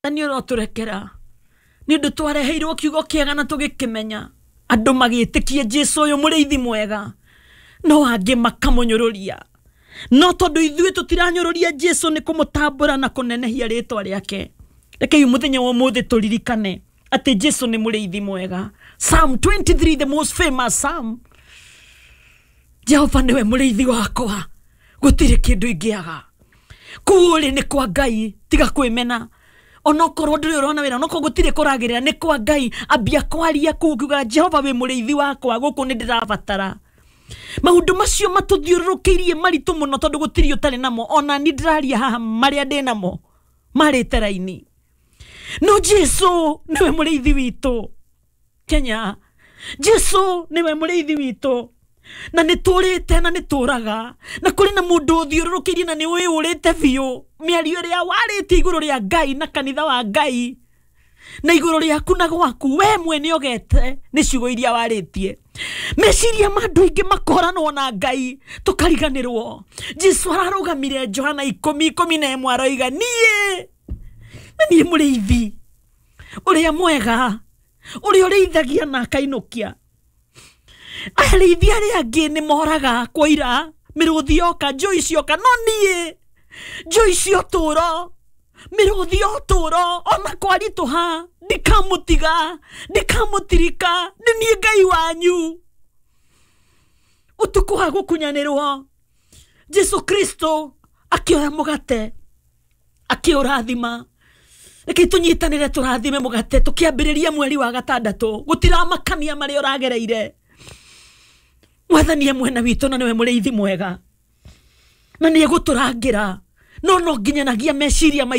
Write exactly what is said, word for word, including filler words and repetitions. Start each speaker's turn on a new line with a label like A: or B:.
A: Nĩ ũrotũrekera nĩ ũndũ twareheirwo kiugo kĩega na tũgĩkĩmenya, andũ magĩtĩkia Jesu ũyũ mũrĩithi mwega, no angĩ makamũnyũrũria. No tondũ ithuĩ tũtiranyũrũria Jesu nĩ kũmũtambũra na kũnenehia rĩtwa rĩake, rekei mũthenya wa ũmũthĩ tũririkane atĩ Jesu nĩ mũrĩithi mwega. Psalm twenty-three, the most famous psalm. Jehova nĩwe mũrĩithi wakwa, gũtirĩ kĩndũ ingĩaga. Kũu ũrĩ nĩ kwa Ngai, tiga kwĩmena. Onokorwo ndũrĩ ũrona wĩra, onokorwo gũtirĩ kũragĩrĩra, nĩ kwa Ngai. Ambia kwaria kũu ũkiugaga Jehova wĩ mũrĩithi wakwa, gũkũ nĩ ndĩrabatara. Maũndũ macio matũthiũrũrũkĩirie maritũ mũno tondũ gũtirĩ ũtarĩ namo. Ona niĩ ndĩraria haha marĩa ndĩ namo marĩte raini. No Jesu nĩwe mũrĩithi witũ Kenya. Jesu nĩwe mũrĩithi witũ, na nĩ tũrĩte na nĩ tũraga, na kũrĩ na mũndũ ũthiũrũrũkĩirie na nĩ wĩyũrĩte biũ mĩario ĩrĩa warĩtie igũrũ rĩa Ngai na kanitha wa Ngai na igũrũ rĩaku na gwaku, we mwene ũgete nĩ ciugo iria warĩtie. Meciria ma andũ aingĩ makoranwo na Ngai tũkariganĩrwo. Jesu ararũgamire Johana ikũmi ikũmi na ĩmwe aroiga, niĩ na niĩ mũrĩithi ũrĩa mwega, ũrĩa ũrĩithagia na akainũkia. Arĩithi arĩa angĩ nĩ moraga kwaira, mĩrũthi yoka, njũi cioka, no niĩ njũi cia ũtũũro, mĩrũthi ya ũtũũro, ona kwaritũha ndikamũtiga, ndikamũtirika, nĩ niĩ Ngai wanyu. Ũtukũ wa gũkunyanĩrwo, Jesu Kristo akĩoya mũgate akĩũrathima. Reke tũnyitanĩre tũrathime mũgate tũkĩambĩrĩria mweri wa gatandatũ. Gũtiramakania marĩa ũragereire, Mwathani e mwena witũ na nĩwe mũrĩithi mwega, na nĩ egũtũrangĩra. No no nginyanagia meciria maitũ.